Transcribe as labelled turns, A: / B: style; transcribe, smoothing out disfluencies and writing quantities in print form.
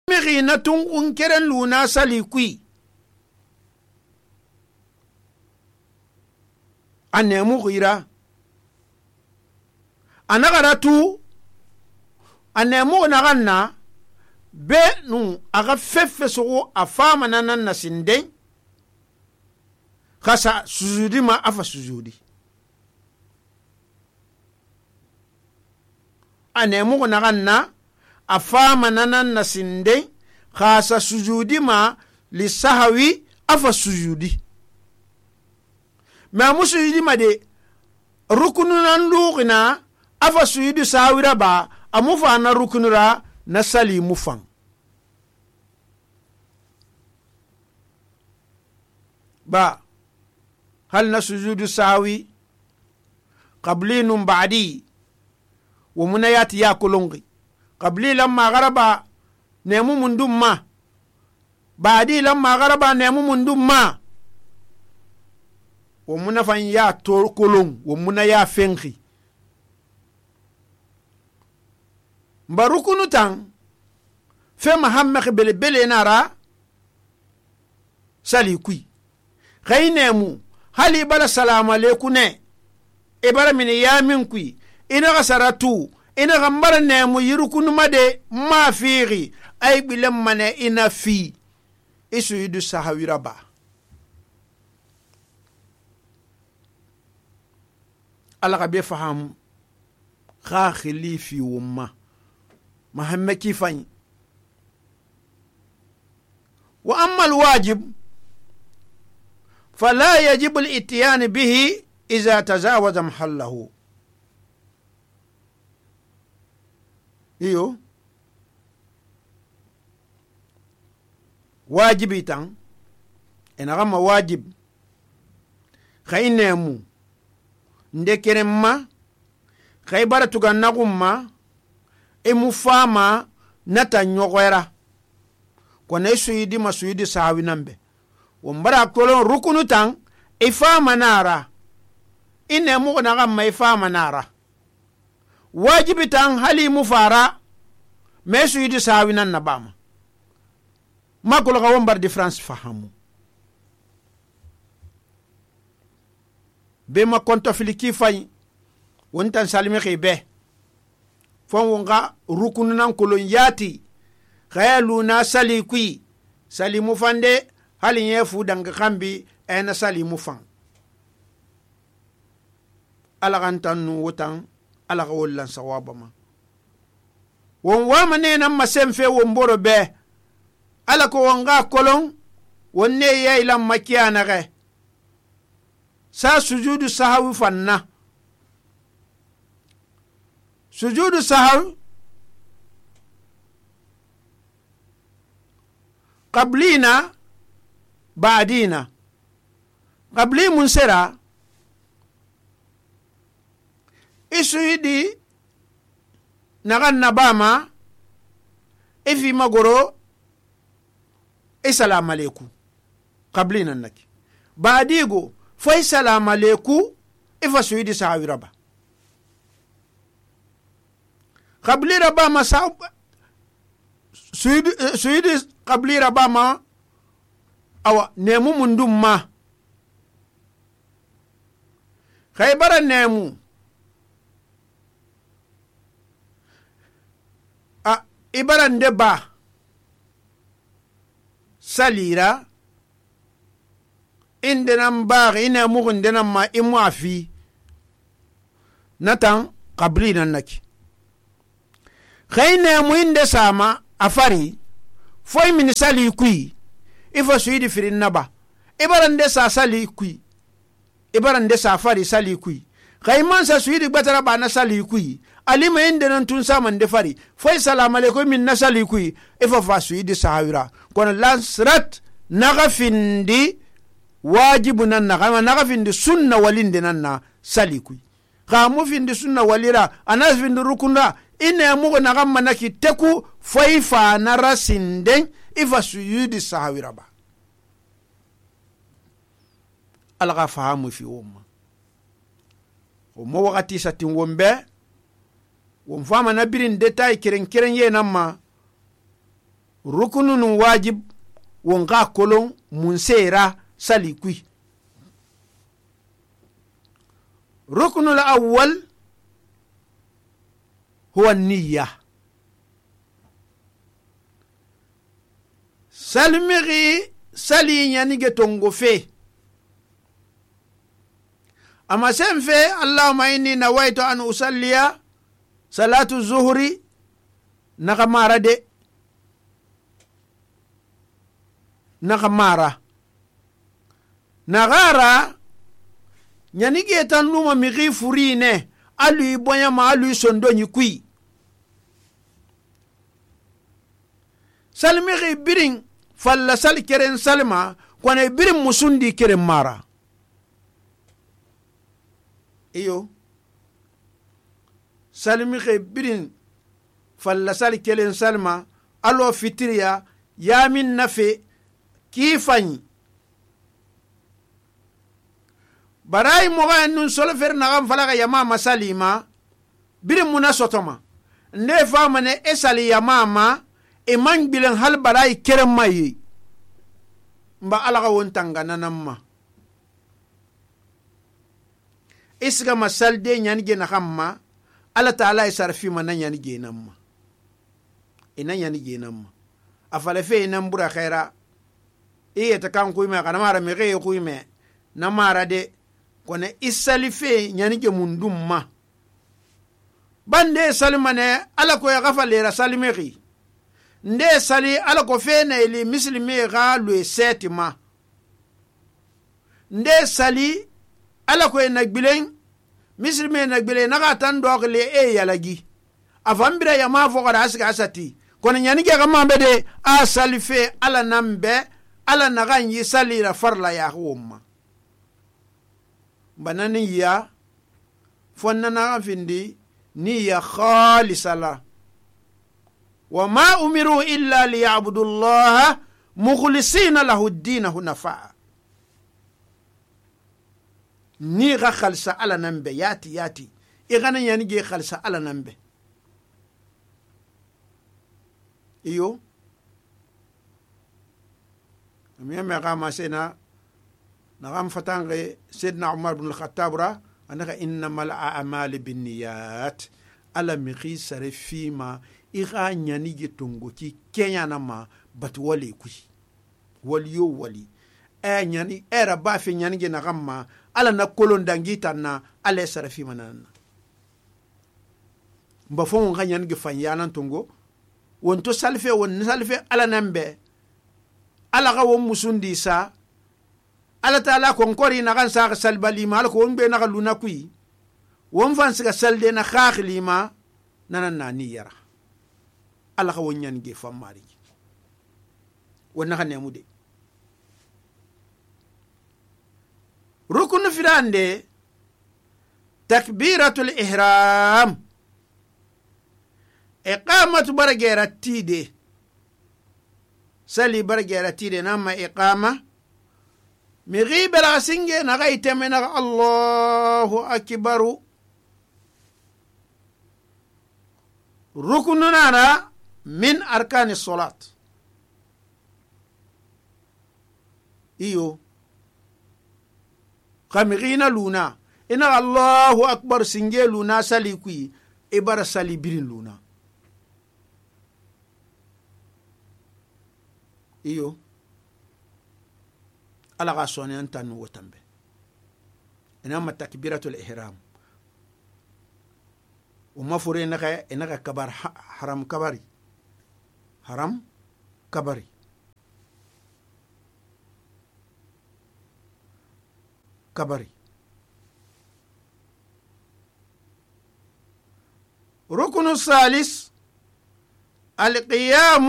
A: mixi na tunxun keren luna sali kui a nemu xira a naxara tu a nemu naxan na be nu a xa fefe soxo a fama na nan na sinden xa sa sujudi ma a fa sujudi a nemu naxan na a fama na nan na sinden xa sa sujudi ma li sahawi a fa sujudi ma mu sujudi ma de rukunu nan luxina a fa sujudi sahawira ba a mu fa na rukunu ra na sali mu fan ba hal na sujudu sahawi qabli nun ba'di wa munayati ya kulungi qabli lamma garaba nemu mundum ma ba'di lamma garaba nemu mundum ma wa munafan ya to kulung wa munaya fenki mbarukunu tan fe mahammed bele bele nara sali kui khaynemu hali bala salamu alaykum ne ibara min yamin kui ina gasaratu ina gambar nemu yirukunu made ma fiiri ay bilam mane ina fi isu yudu sahawira ba Allah be faham kha khilifi umma محمد كيفاني وأما الواجب فلا يجب الاتيان به إذا تجاوز محله واجب تان إن غم واجب خينمو ندكرم خيبر تغنغم emu fama nata nyogwera kone suyidi masuyidi sahawi nambe wombara kolon rukunu tan ifama nara ine mu na gamma ifama nara wajibi tan hali mu fara me suyidi sahawi nan nabama makolo ga wombar difference fahamu be ma konto filiki fay wontan salimi khibe fon wonga rukunu nan kolon yati khayalu na sali kui sali mu fande halin yefu danga kambi ena sali mu fan alagantan nu wotan alaga wollan sawaba ma won wa mane nan masemfe won boro be alako wonga kolon wonne yailan makiyana ge sa sujudu sahawi fanna sujudu sahaw qablina ba'dina qabli munsera isuidi nagan nabama ifi magoro assalamu alaikum qablina naki ba'digo fa assalamu alaikum ifa suidi sahawiraba qabli rabama sa suidi qabli rabama awa nemu mundum ma khaybara nemu a ibaran de ba salira indenam bari ina mugun denam ma imu afi natan qabli nan naki khayne mu inde sama afari foy min sali kui ifo suidi firin naba ibaran de sa sali kui ibaran de sa fari sali kui khayman sa suidi batara ba na sali kui alima inde nan tun sama de fari foy salamu alaikum min na sali kui ifo fa suidi sahawira kono lansrat nagafindi wajibu nan nagafindi sunna walinde nan na sali kui khamu findi sunna walira anas findi rukunda ina mugo na gamma naki teku faifa na rasinden ifa suyudi sahawira ba alga fahamu fi umma mo wakati satin wombe won fama na birin detail kiren ye namma rukunu nun wajib won ga kolon munse ra sali kui. rukunu al-awwal huwa niyya. salimigi sali yanige tongo fe ama sen fe allahumma inni nawaitu an usalliya salatu zuhri naga mara de naga mara nagara yanige tan numa migi furine alui boyama alui sondonyi kui salimigi birin falla sal keren salma kone birin musundi keren mara iyo salimigi birin falla sal keren salma alo fitiriya yamin nafe kifanyi barai moga nun solfer nagan falaga yama masalima birin muna sotoma nde famane esali yama ma iman bilen hal barai keren mayi mba alaga won tangana namma isga masalde nyanige na hamma ala taala isarfi man nyanige namma ina nyanige namma afale fe nan bura khaira iye ta kan kuime kana mara me ge kuime na mara de kone isali fe nyanige mundum ma bande salimane ala ko ya gafale ra salimegi nde sali ala ko fe na ili muslimi ga lo setima nde sali ala ko na gbilen muslimi na gbilen na tan dogle e yalagi afambira ya ma fo ga asga asati kono nyani ge ga mambe de a sali fe ala nambe ala na ganyi sali ra farla ya humma banani ya fonna na findi ni ya khalisala وما أمروا إلا ليعبدوا الله مخلصين له الدين هنفاء نيغا خلصة على نمبه ياتي إغانا ينجي خلصة على نمبه إيو أميام يقام سينا نغام فتانغي سيدنا عمر بن الخطاب را أنك إنما الأعمال بالنيات على مخي سرفيما iga nyani ge tongo ki kenya na ma batu wali kui wali yo wali nyani era ba fi nyani ge na gamma ala na kolon dangita na ala sarafi manana mba fon nga nyani ge fanyana tongo wonto salfe won salfe ala nambe ala ga won musundi sa ala taala kon kori na kan sa salbali mal ko won be na luna kui won fan siga salde na khakhli ma nanan na niyara ala ka wonyan ge famari wonna kan nemude rukun firande takbiratul ihram iqamatu baragera tide sali baragera tide nama iqama mi ghibara singe na gaiteme na Allahu akbaru rukununa min arkani salat iyo kamigina luna ina Allahu akbar singe luna sali kui ibara sali birin luna iyo ala ga soni antan wotambe ina ma takbiratul ihram وما فرينا إنك كبر حرام كبري حرام كبري كبري ركن الثالث القيام